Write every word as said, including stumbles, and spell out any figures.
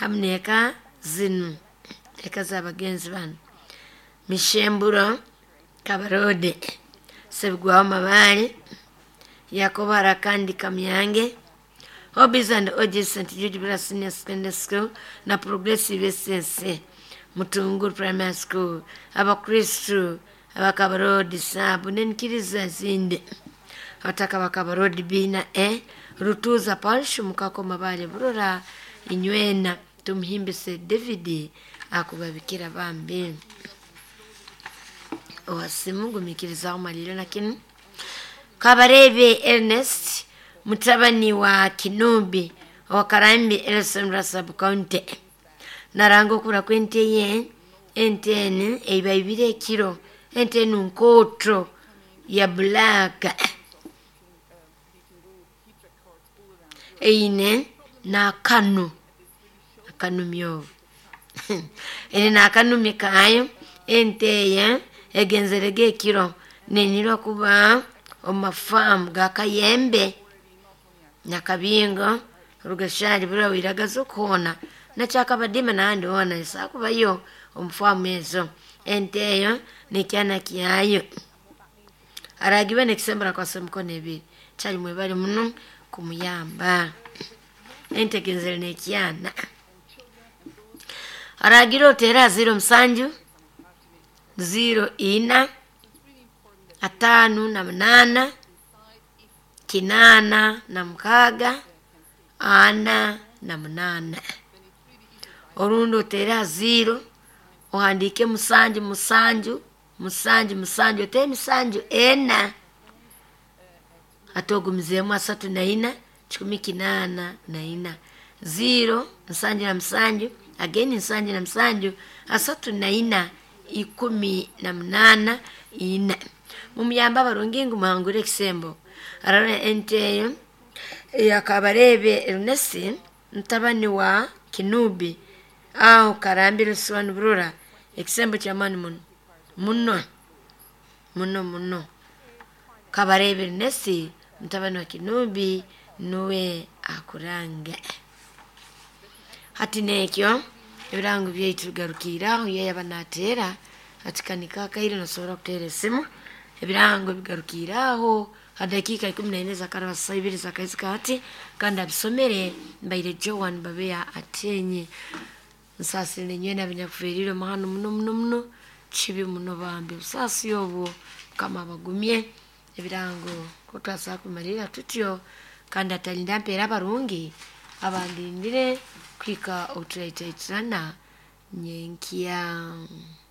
Hamu n'eka zinu, eka z'abagenzi banu: Mishemburo Kabarode, Sebugwaho Mabaale, Yakobo Harakandi Kamyange, Hobbies and Orgies, Saint Jude Bura Senior Secondary School na Progressive S S Mutunguru Primary School, Abakristu Abakabarodi Sabu n'enkiriza ezindi, abataka Bakabarodi B na E, Rutuza Parish, Mukako Mabaale Burora, inywena tumuhimbise David akubabikira bambi. Owasimu gumikirizaho malire na kinu. Kabarebe Ernest mutabani wa Kinubi owa Karambi Elson Sub County naranga okura kw'ente ye. Ente enu eiba ibiri ekiro. Ente enu nkooto ya black, eine n'akanu akanumi obu ene n'akanumi kaayo. Ente eye egenzerege ekiro nenyirwa kuba omu mafaamu ga Kayembe Nyakabingo Rugashari bura wiragaza okuhoona nakyakabadima nahandi hoona esakubayo omu faamu ezo. Ente eyo nekyana kyayo aragibe nekisembera kwasa emikono ebiri kyali. Mwebale muno kumuyamba. Ente egenzere nekyana. Aragira oteera ziro musanju ziro ina ataano na munaana kinaana na mukaaga ana na munaana, orundi oteere ha ziro ohandiike musanju musanju musanju musanju, oteere emisanju ena, ate ogumizeemu asatu na ina kikumi kinaana na ina. Ziro nsanju na musanju again nsanju na musanju asatu na ina ikumi na munaana ina. Mumuyambe abarungi ngu muhangure ekisembo. Arara ente eyo eyakabarebe Ernest mutabani wa Kinubi aho Karambire Rusiwani Burora. Ekisembo ky'amaani muno muno muno muno. Kabarebe Ernest mutabani wa Kinubi nuwe akuranga. Hati nekyo ebirango byaitu bigarukiire aho. Ye yaba nateera ati kanika akaire nosobora kuteera esimu. Ebirango bigarukiire aho ha dakiika ikumi naine zakaraba saa ibiri zakaizika hati, kandi abisomere mbaire Joan Babeya Atenyi. Nsaasire nywena abanyakufiirirwe omuhano muno muno muno, kibi muno bambi obusaasi obwo. Mukama abagumye. Ebirango kotwasobola kumalirra tutyo, kandi atalinda mpeera abarungi abandindire kuhika obuturaitaitirana nyenkya.